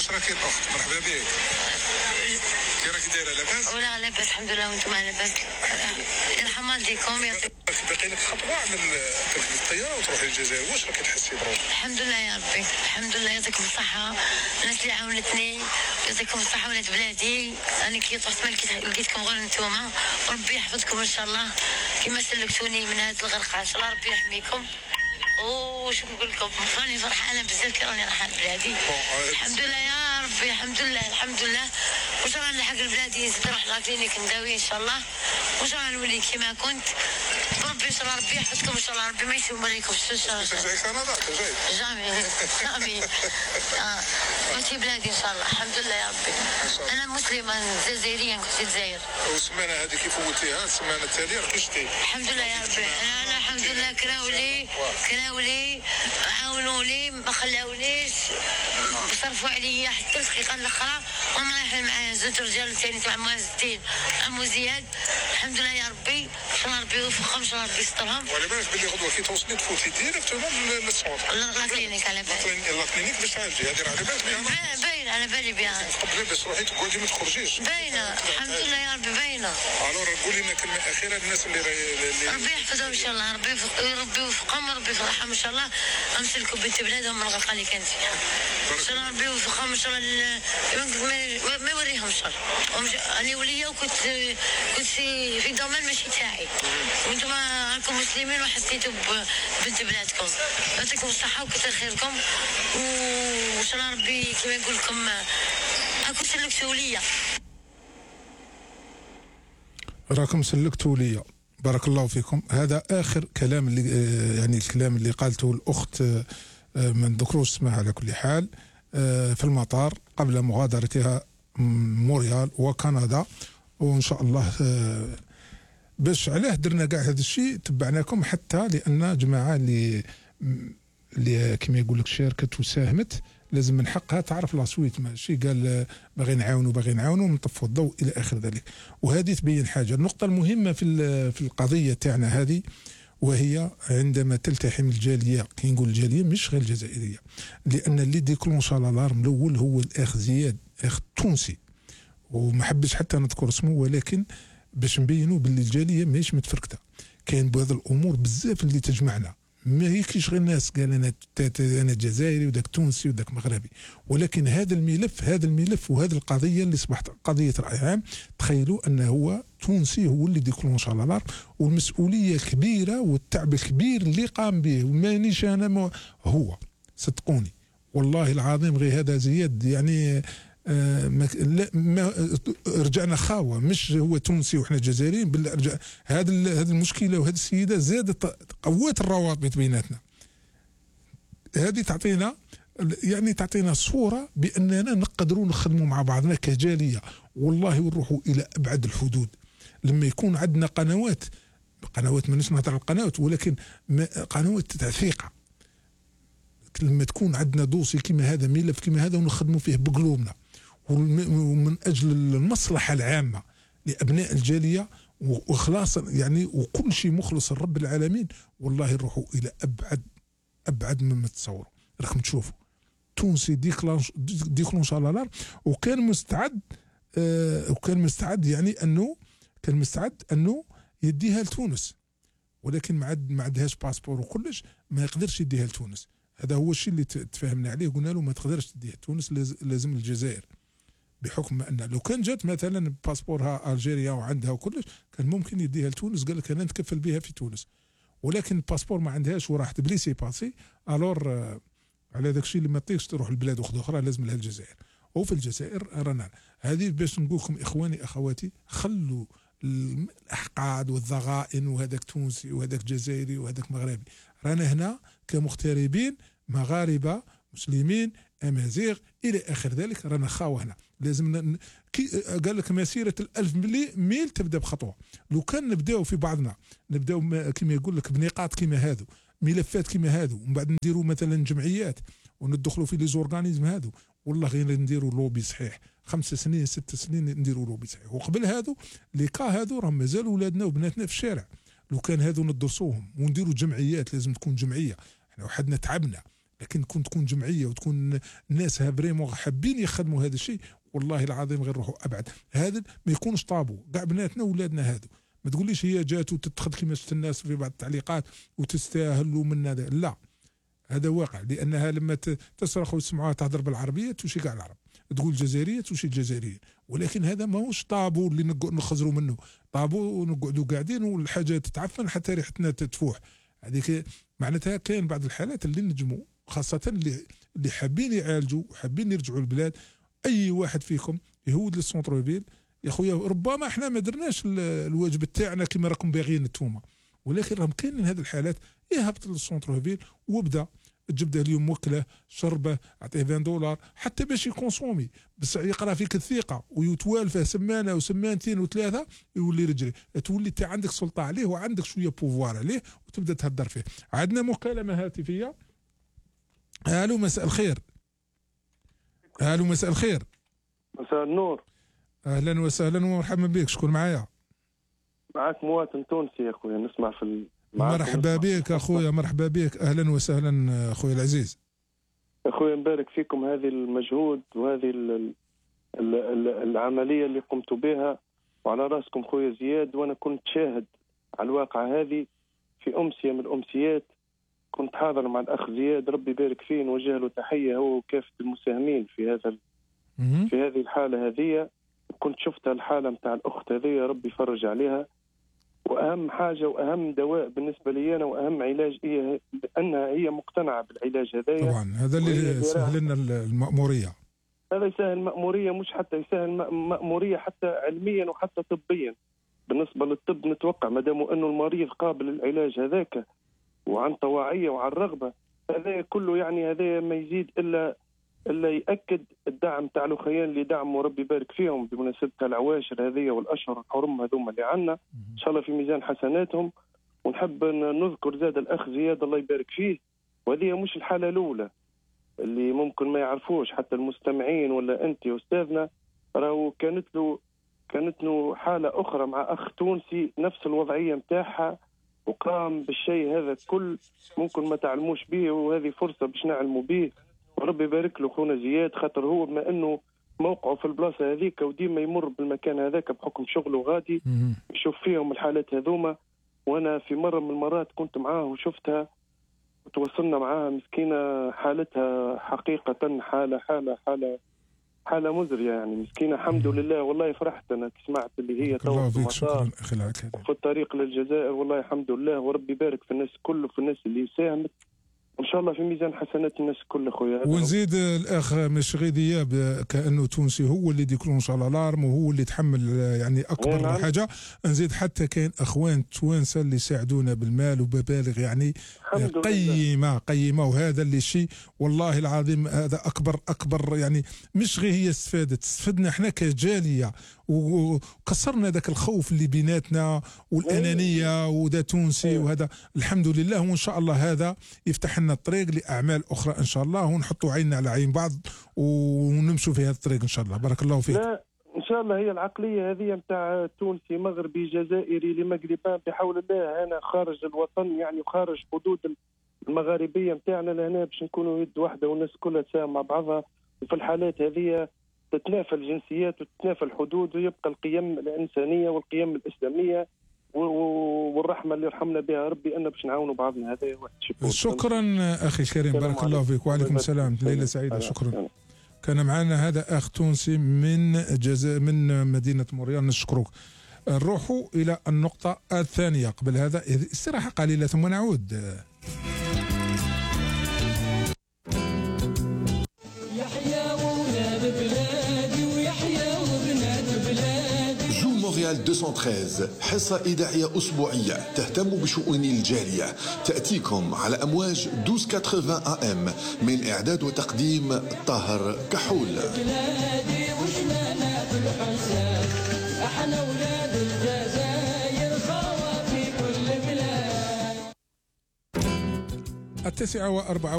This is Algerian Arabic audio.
واش راكي الاخت؟ مرحبا بك. كي راكي دايره لاباس؟ ولا لاباس الحمد لله وانتم لاباس؟ يرحم والديكم. يعطيك باقي لك خطوه على تركبي الطياره وتروحي للجزائر، واش راكي تحسي بروحك؟ الحمد لله يا ربي، الحمد لله. يعطيكم الصحه الناس اللي عاونتني، يعطيكم الصحه ولاد بلادي. انا كي طحت ما لقيتكم غير نتوما، وربي يحفظكم ان شاء الله كما سلكتوني من هذا الغرقه، ان شاء الله ربي يحميكم. وش نقول لكم، راني فرحانه بزاف كي راني رايحه لبلادي. الحمد لله يا ربي، الحمد لله الحمد لله. وش راني نلحق لبلادي، نزيد نروح لاكلينيك نداوي ان شاء الله، وش راني نولي كيما كنت. ربي ان شاء الله ربي يحفظكم ان شاء الله، ربي ما يسوم عليكم ان شاء الله. ترجعي كندا؟ ترجعي؟ جامي جامي. ماشي بلادي ان شاء الله. الحمد لله يا ربي. انا مسلمه جزائريه، كنت في الجزائر. والسمانه هذه كيف فوتيها؟ السمانه التاليه راه شتي؟ الحمد لله يا ربي. انا الحمد لله كراولي عاونوا لي، ما خلاونيش، صرفوا عليا حتى الدقيقه الاخرى، وما رايحين معايا زوج رجال ثاني تاع معز الدين عمو زياد. الحمد لله يا ربي، ان شاء الله ربي يوفقهم، ان شاء الله ربي يسترهم. وعلى بالك باللي غدوه كي توصلي تفوتي ديريكتومون للسونتر لاكلينيك. على بالي لاكلينيك باش تعالجي، هذه راه على بالك بها. باينه على بالي بها. قبل باش تروحي تقعدي ما تخرجيش. باينه الحمد لله يا ربي باينه. الور قولي لنا كلمه اخيره للناس اللي ربي يحفظهم ان شاء الله، ربي يوفقهم، ربي يفرحهم ان شاء الله. امسلكوا بنت بلادهم من الغلطه اللي كانت فيها ان شاء الله، ربي يوفقهم ان شاء الله. ما يوريهم الشر. انا وليه وكنت في دومين ماشي تاعي، وانتم راكم مسلمين وحسيتوا ببنت بلادكم. يعطيكم الصحه وكثر خيركم، وان شاء الله ربي كما نقول لكم راكم سلكتوا ليا. راكم سلكتوا ليا، بارك الله فيكم. هذا اخر كلام اللي يعني الكلام اللي قالته الاخت، ما نذكروش اسمها على كل حال، في المطار قبل مغادرتها مونريال وكندا. وان شاء الله باش علاه درنا كاع هذا الشيء، تبعناكم حتى لان جماعه اللي كما يقول لك شاركت وساهمت لازم من حقها تعرف لاسويت، ماشي قال باغي نعاونوا ونطفوا الضوء الى اخر ذلك. وهذه تبين حاجه. النقطه المهمه في القضيه تاعنا هذه، وهي عندما تلتحم الجاليه، كي نقول الجاليه مش غير الجزائريه، لان اللي ديكلونشا الالارم الاول هو الاخ زياد، اخ تونسي، وما حبش حتى نذكر اسمه، ولكن باش نبينوا باللي الجاليه ماهيش متفركته. كاين بهذا الامور بزاف اللي تجمعنا، ما هيكش غير الناس قال انا جزائري وداك تونسي وداك مغربي، ولكن هذا الملف وهذه القضيه اللي اصبحت قضيه راي عام. تخيلوا انه هو تونسي هو اللي ديكلونش على الارض، والمسؤوليه كبيره والتعب الكبير اللي قام به، ومانيش انا هو، صدقوني والله العظيم. غير هذا زياد يعني ما رجعنا خاوه، مش هو تونسي وحنا جزائريين، بل هذا المشكله وهذه السيده زادت قوات الروابط بيناتنا. هذه تعطينا صوره باننا نقدروا نخدموا مع بعضنا كجاليه، والله ونروحوا الى ابعد الحدود. لما يكون عندنا قنوات مانيش نهضر على القنوات، ولكن قنوات تاع ثقه، لما تكون عندنا دوسي كما هذا، ملف كما هذا، ونخدموا فيه بقلوبنا ومن اجل المصلحه العامه لابناء الجاليه واخلاصا يعني، وكل شيء مخلص لرب العالمين، والله نروحوا الى ابعد مما تتصوروا. راكم تشوفوا تونسي ديكلونش على الارض، وكان مستعد يعني انه يديها لتونس، ولكن ما عندهاش باسبور وكلش، ما يقدرش يديها لتونس. هذا هو الشيء اللي تفاهمنا عليه، قلنا له ما تقدرش تديها تونس، لازم الجزائر، بحكم ان لو كان جات مثلا باسبورها الجيريا وعندها وكلش كان ممكن يديها لتونس، قال لك انا نتكفل بها في تونس، ولكن الباسبور ما عندهاش وراحت بليسي باسي. الور على داك الشيء اللي ما تطيقش تروح لبلاد اخرى لازم لها الجزائر. وفي الجزائر رانا هذه باش نقول لكم اخواني اخواتي، خلوا الاحقاد والضغائن، وهذاك تونسي وهذاك جزائري وهذاك مغربي، رانا هنا كمغتربين مغاربه مسلمين امازيغ الى اخر ذلك، رانا خاوه هنا. لازم قال لك مسيره 1000 ميل تبدا بخطوه. لو كان نبداو في بعضنا، نبداو كما يقول لك بنقاط كما هذو، ملفات كما هذو، ومن بعد نديروا مثلا جمعيات وندخلوا في لي زورغانيزم هذو، والله غير نديروا لوبي صحيح 5 سنين 6 سنين نديروا لوبي صحيح. وقبل هذو لي كا هذو راهم مازالوا ولادنا وبناتنا في الشارع. لو كان هذو ندرسوهم ونديروا جمعيات، لازم تكون جمعيه، احنا وحدنا تعبنا، لكن تكون جمعيه وتكون الناس فريمون حابين يخدموا هذا الشيء، والله العظيم غير روحوا ابعد. هذا ما يكونش طابو، كاع بناتنا واولادنا هادو. ما تقوليش هي جات وتتخذ كما شفت الناس في بعض التعليقات وتستاهل ومن هذا، لا، هذا واقع. لانها لما تصرخ وتسمعوها تهضر بالعربيه توشي كاع العرب، تقول جزائريه توشي الجزائريين، ولكن هذا ماهوش طابو اللي نخزروا منه، طابو ونقعدوا قاعدين والحاجه تتعفن حتى ريحتنا تفوح. هذيك معناتها كاين بعض الحالات اللي نجموا، خاصه اللي حابين يعالجوا وحابين يرجعوا البلاد. اي واحد فيكم يهود للسونتر فيل يا خويا، ربما احنا ما درناش الواجب تاعنا كما راكم باغيين نتوما، ولكن راهم كاينين هذه الحالات. يهبط للسونتر فيل وبدا تجبده اليوم وكله شربه، عطيه $20 حتى باش يكونسومي، بس يقرا فيك الثقه ويتوالفه سمانه وسمانتين وثلاثه يولي رجلي، تولي انت عندك سلطه عليه وعندك شويه بوفوار عليه وتبدا تهدر فيه. عندنا مكالمه هاتفيه. الو مساء الخير. الو مساء الخير. مساء النور. اهلا وسهلا ومرحبا بك. شكون معايا؟ معك مواطن تونسي يا اخويا، نسمع في مرحبا بك اخويا، مرحبا بك، اهلا وسهلا اخويا العزيز. اخويا نبارك فيكم هذه المجهود وهذه العمليه اللي قمتوا بها، وعلى راسكم خويا زياد. وانا كنت شاهد على الواقع هذه في امسيه من الامسيات، كنت حاضر مع الاخ زياد، ربي يبارك فيه، نوجه له تحيه هو وكافه المساهمين في هذه الحاله هذه. كنت شفت الحاله نتاع الاخت هذه، ربي يفرج عليها. واهم حاجه واهم دواء بالنسبه لي انا واهم علاج هي انها هي مقتنعه بالعلاج هذايا. طبعا هذا اللي سهل لنا المأموريه، هذا يسهل مأموريه، مش حتى يسهل مأموريه حتى علميا وحتى طبيا. بالنسبه للطب نتوقع ما دام انه المريض قابل للعلاج هذاك وعن طواعيه وعن رغبه، هذا كله يعني هذا ما يزيد الا يأكد الدعم تاع الاخوان اللي دعموا، ربي يبارك فيهم بمناسبه العواشر هذه والاشهر الحرم هذوما اللي عندنا، ان شاء الله في ميزان حسناتهم. ونحب نذكر زاد الاخ زياد الله يبارك فيه، وهذه مش الحاله الاولى اللي ممكن ما يعرفوش حتى المستمعين ولا انت يا استاذنا، راهو كانت له حاله اخرى مع اخ تونسي نفس الوضعيه نتاعها، وقام بالشيء هذا كل ممكن ما تعلموش به، وهذه فرصه باش نعلموا به. وربي يبارك له خونا زياد، خاطر هو بما انه موقعه في البلاصه هذيك وديما يمر بالمكان هذاك بحكم شغله غادي يشوف فيهم الحالات هذوما. وانا في مره من المرات كنت معاه وشفتها وتواصلنا معاها، مسكينه حالتها حقيقه حاله مزريه يعني، مسكينه. الحمد لله والله فرحت انا سمعت اللي هي الله فيك. شكرا اخي العكاد. في الطريق للجزائر والله الحمد لله، وربي يبارك في الناس كله، في الناس اللي ساهمت، ان شاء الله في ميزان حسنات الناس كل خويا. ونزيد الاخ مشغي دياب كانه تونسي هو اللي ديكلونش على الارم وهو اللي يتحمل يعني اكبر حاجه. نزيد حتى كاين اخوان توانسه اللي يساعدونا بالمال وببالغ يعني قيمه وهذا اللي شيء والله العظيم هذا اكبر يعني. مش غير هي استفدنا احنا كجاليه وكسرنا ذاك الخوف اللي بيناتنا والانانيه وذا تونسي وهذا الحمد لله. وان شاء الله هذا يفتح لنا الطريق لاعمال اخرى ان شاء الله، ونحطوا عيننا على عين بعض ونمشوا في هذا الطريق ان شاء الله. بارك الله فيك. لا ان شاء الله هي العقليه هذه نتاع تونسي مغربي جزائري لمغربان بحول الله هنا خارج الوطن يعني وخارج حدود المغاربيه نتاعنا لهنا باش نكونوا يد واحده والناس كلها تساهم مع بعضها. وفي الحالات هذه تتنافى الجنسيات وتتنافى الحدود ويبقى القيم الانسانيه والقيم الاسلاميه والرحمه اللي يرحمنا بها ربي ان باش نعاونوا بعضنا. هذا واحد شكرا اخي الكريم، بارك الله فيك. وعليكم السلام، ليله سعيده. شكرا. كان معنا هذا اخ تونسي من مدينه موريال، نشكرك. نروحوا الى النقطه الثانيه. قبل هذا استراحه قليله ثم نعود. مونريال 213 حصة إذاعية أسبوعية تهتم بشؤون الجالية، تأتيكم على أمواج 1280 AM، من إعداد وتقديم طاهر كحول. التاسعة و4